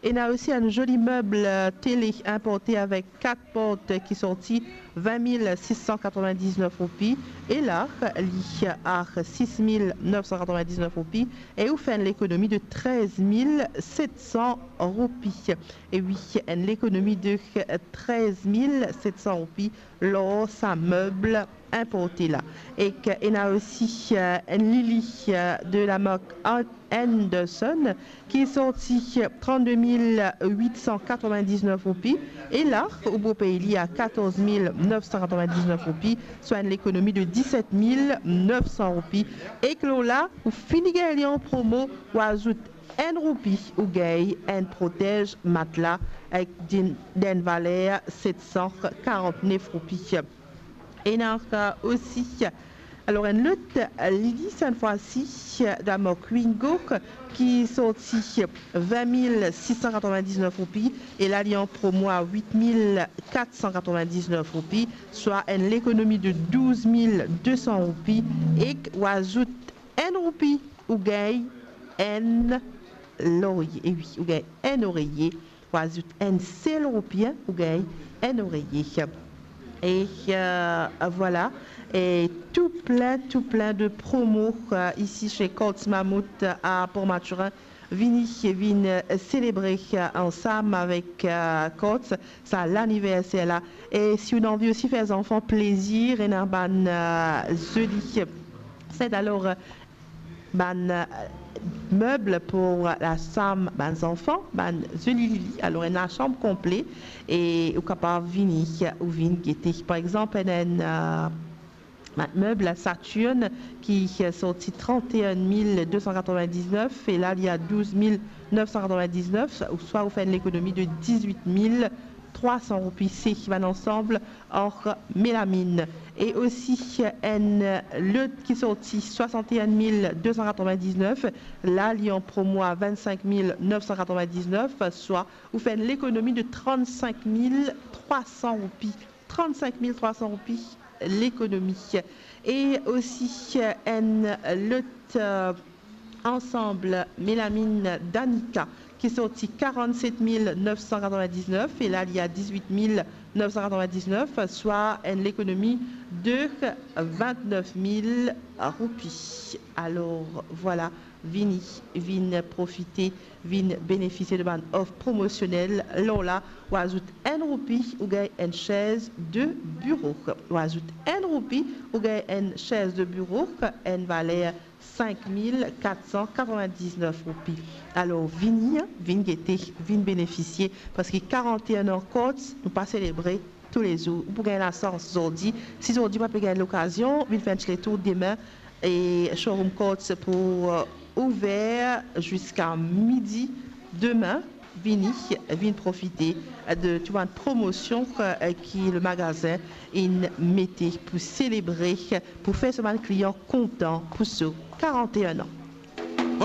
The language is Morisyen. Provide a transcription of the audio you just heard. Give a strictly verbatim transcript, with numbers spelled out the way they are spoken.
Ena osi enn zoli meb, eh, tele inporte avek kat port ki sorti vin mil sis san katrovin-diznef roupi, e la li a sis mil nef san katrovin-diznef roupi, e ou fer enn lekonomi de trez mil set san roupi. E wi, enn lekonomi de trez mil set san roupi lor sa meb inporte la. Ek ena osi, eh, enn lili, eh, de la mark An-, Anderson ki sorti trannde mil wit san katrovin-diznef roupi, e la ou pou pey li a katorz mil nef san katrovin-diznef roupi, swa enn lekonomi de diset mil nef san roupi. Ek lor la, ou fini gagn li an promo, ou azout enn roupi, ou gagn enn protez matla ek din-, dan enn valer set san karant-nef roupi. Ena osi, alor, enn lot lili, sannfwasi, dan mark Wingo, ki sorti vin mil sis san katrovin-diznef roupi, e la li an promo a wit mil kat san katrovin-diznef roupi, swa enn lekonomi de douz mil de san roupi, ek ou azout enn roupi, ou gagn enn loreye. E wi, ou gagn enn oreye. Ou azout enn sel roupi, ou gagn enn oreye. E, eh, vwala. E tou plin, tou plin de promo, eh, isi se Courts Mammouth, eh, a Port Mathurin. Vini, vinn, eh, selebre, eh, ansam avek, eh, Courts, sa laniverser la. E si ou anvi osi fer zanfan plezir, ena bann, eh, zoli set, alor, eh, bann, eh, meb pou lasam bann zanfan, bann zoli lili. Alor, ena sanm konple e ou kapav vini, ou vinn gete. Par exanp, ena enn, eh, bann meb Saturn ki, eh, sorti trannde-enn mil de san katrovin-diznef, e la li a douz mil nef san katrovin-diznef, ouswa ou fer enn lekonomi de dizwit mil trwa san roupi. Se bann ansam an melaminn. E osi enn lot ki sorti swasant-e-enn mil de san katrovin-diznef, la li an promo a vinn-sink mil nef san katrovin-diznef, swa ou fer enn lekonomi de trannsenk mil trwa san roupi. Trannsenk mil trwa san roupi lekonomi. E osi enn lot, eh, ansam melaminn Danica ki sorti karannset mil nef san katrovin-diznef, e la li a dizwit mil nef san katrovin-diznef, swa enn lekonomi de vinn-nef mil roupi. Alor, vwala, vini, vinn profite, vinn benefisie de bann of promosionel. Lor la, ou azout enn roupi, ou gagn enn sez de biro. Ou azout enn roupi, ou gagn enn sez de biro, enn valer sink mil kat san katrovin-diznef roupi. Alor, vini, vinn gete, vinn benefisie, parski karant-e-enn an Courts, nou pa selebre toulezour. Ou pou gagn lasans zordi. Si zordi ou pa pe gagn lokazion, vinn fer enn ti letour demin. E showroom Courts pou, eh, ouver ziska midi demin. Vini, vinn profite de tou bann promosion, eh, ki le magazin inn mete pou selebre, pou fer so bann klian kontan pou so karant-e-enn an.